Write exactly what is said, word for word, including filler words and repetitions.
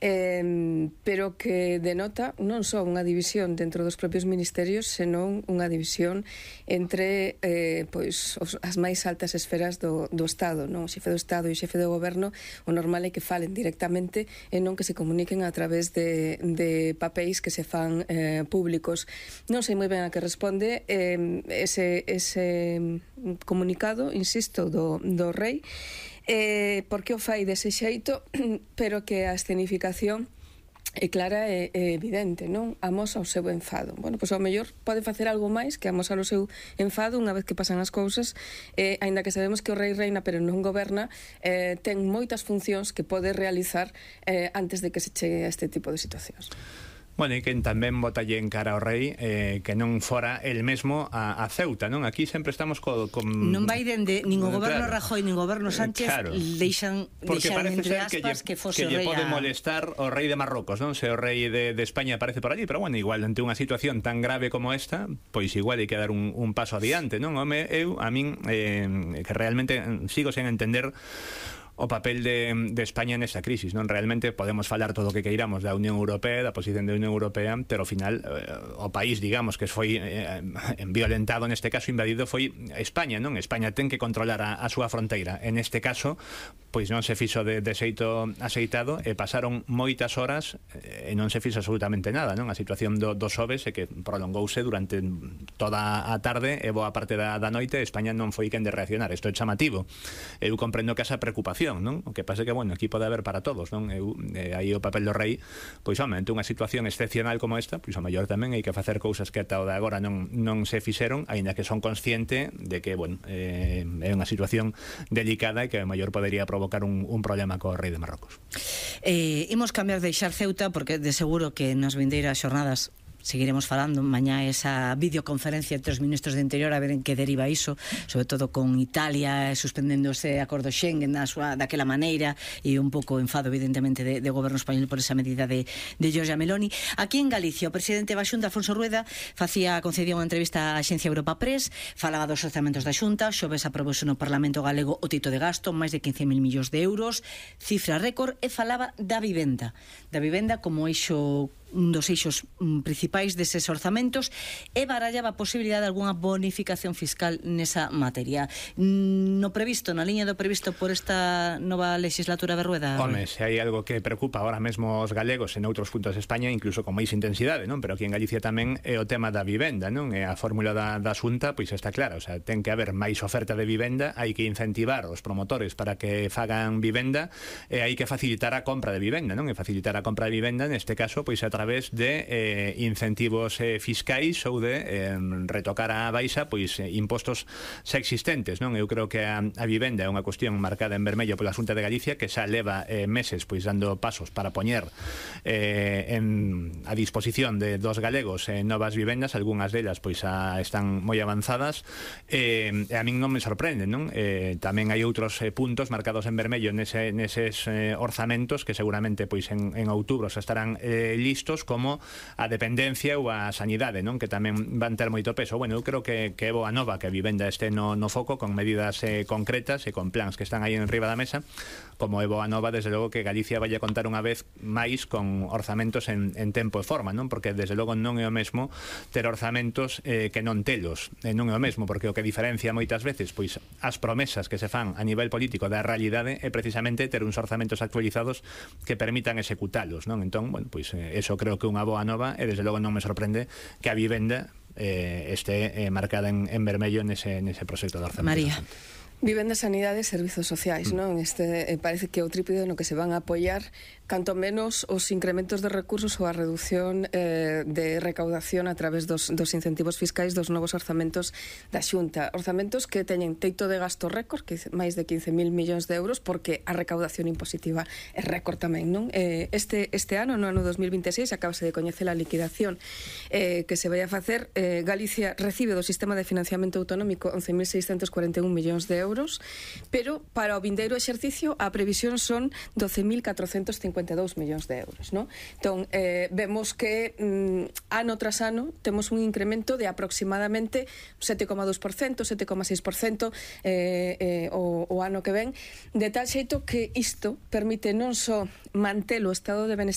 Eh, pero que denota non só unha división dentro dos propios ministerios, senón unha división entre eh, pois, os, as máis altas esferas do, do Estado, non? O xefe do Estado e o xefe do Goberno, o normal é que falen directamente e non que se comuniquen a través de, de papéis que se fan eh, públicos. Non sei moi ben a que responde eh, ese, ese comunicado, insisto, do, do rei, Eh, porque o fai dese xeito, pero que a escenificación é clara e é evidente, non? Amosa o seu enfado. Bueno, pois ao mellor pode facer algo máis que amosar o seu enfado unha vez que pasan as cousas, eh, aínda que sabemos que o rei reina pero non goberna, eh, ten moitas funcións que pode realizar eh, antes de que se chegue a este tipo de situacións. Bueno, e que tamén botalle en cara ao rei eh, que non fora el mesmo a, a Ceuta, non? Aquí sempre estamos co, con... Non vai dende nin o goberno claro. Rajoy nin o goberno Sánchez, claro. deixan, deixan entre aspas que, lle, que fose que lle rei pode a... molestar o rei de Marrocos, non? Se o rei de, de España aparece por allí, pero bueno, igual ante unha situación tan grave como esta, pois igual hai que dar un, un paso adiante, non? Home, eu, a min, eh, que realmente sigo sen entender o papel de, de España nesta crisis, non? Realmente podemos falar todo o que queiramos da Unión Europea, da posición da Unión Europea, pero ao final eh, o país, digamos, que foi eh, violentado, neste caso invadido, foi España, non? España ten que controlar a, a súa fronteira. En este caso, pois non se fixo de, de xeito aceitado e pasaron moitas horas e non se fixo absolutamente nada, non? A situación do, do Xoves é que prolongouse durante toda a tarde e boa parte da, da noite. España non foi quen de reaccionar. Isto é chamativo. Eu comprendo que esa preocupación, non? O que pasa é que, bueno, aquí pode haber para todos, non? Eu, eh, aí o papel do rei, pois, home, ante unha situación excepcional como esta, pois, ao mellor tamén hai que facer cousas que ata o de agora non, non se fixeron, aínda que son consciente de que, bueno, eh, é unha situación delicada e que ao mellor podería provocar un, un problema co rei de Marrocos. Eh, imos cambiar de deixar Ceuta, porque de seguro que nas vindeiras xornadas seguiremos falando mañá esa videoconferencia entre os ministros de Interior a ver en que deriva iso, sobre todo con Italia suspendendo ese acordo Schengen da súa, daquela maneira, e un pouco enfado evidentemente de, de goberno español por esa medida de, de Giorgia Meloni. Aquí en Galicia o presidente da Xunta, Afonso Rueda, facía, concedía unha entrevista á Axencia Europa Press, falaba dos orzamentos da Xunta. Xoves aprobouse no Parlamento Galego o tito de gasto, máis de quince mil millóns de euros, cifra récord, e falaba da vivenda da vivenda como eixo, un dos eixos mm, principais deses orzamentos, e barallaba a posibilidade de algunha bonificación fiscal nesa materia. Mm, no previsto, na liña do previsto por esta nova legislatura de Rueda? Home, se hai algo que preocupa ahora mesmo os galegos en outros puntos de España, incluso con máis intensidade, non? Pero aquí en Galicia tamén é o tema da vivenda, non? E a fórmula da, da Xunta, pois está clara, o sea, ten que haber máis oferta de vivenda, hai que incentivar os promotores para que fagan vivenda, e hai que facilitar a compra de vivenda, non? E facilitar a compra de vivenda, neste caso, pois a través de eh, incentivos eh, fiscais ou de eh, retocar a baixa pois eh, impostos xa existentes, non? Eu creo que a, a vivenda é unha cuestión marcada en vermello pola Xunta de Galicia, que xa leva eh, meses pois dando pasos para poñer eh, en, a disposición de dos galegos eh, novas vivendas, algunhas delas pois a, están moi avanzadas, eh, e a min non me sorprende, non? Eh, tamén hai outros eh, puntos marcados en vermello nese, neses eh, orzamentos que seguramente pois en, en outubro xa estarán eh, listos, como a dependencia ou a sanidade, non? Que tamén van ter moito peso. Bueno, eu creo que, que é boa nova que a vivenda este no, no foco, con medidas eh, concretas e con plans que están aí en riba da mesa, como é boa nova, desde logo, que Galicia vai a contar unha vez máis con orzamentos en, en tempo e forma, non? Porque desde logo non é o mesmo ter orzamentos eh, que non telos, eh, non é o mesmo, porque o que diferencia moitas veces pois as promesas que se fan a nivel político da realidade é precisamente ter uns orzamentos actualizados que permitan executalos, non? Entón, bueno, pois eh, eso creo que é unha boa nova, e desde logo non me sorprende que a vivenda eh, este eh, marcada en, en vermello nese, nese proxecto de orzamento. María. Vivenda, sanidade e servizos sociais, non? Este, eh, parece que é o trípode no que se van a apoiar canto menos os incrementos de recursos ou a reducción eh, de recaudación a través dos, dos incentivos fiscais dos novos orzamentos da Xunta. Orzamentos que teñen teito de gasto récord, que máis de quince mil millóns de euros, porque a recaudación impositiva é récord tamén, non? Eh, este, este ano, no ano dos mil vinte e seis, acabase de coñecer a liquidación eh, que se vai a facer. eh, Galicia recibe do sistema de financiamento autonómico once mil seiscentos cuarenta e un millóns de euros, pero para o vindeiro exercicio a previsión son doce mil catrocentos cincuenta e dous millóns de euros, non? Entón, eh, vemos que mm, ano tras ano temos un incremento de aproximadamente sete coma dous por cento, sete coma seis por cento eh, eh, o, o ano que ven, de tal xeito que isto permite non só manter o estado de benestar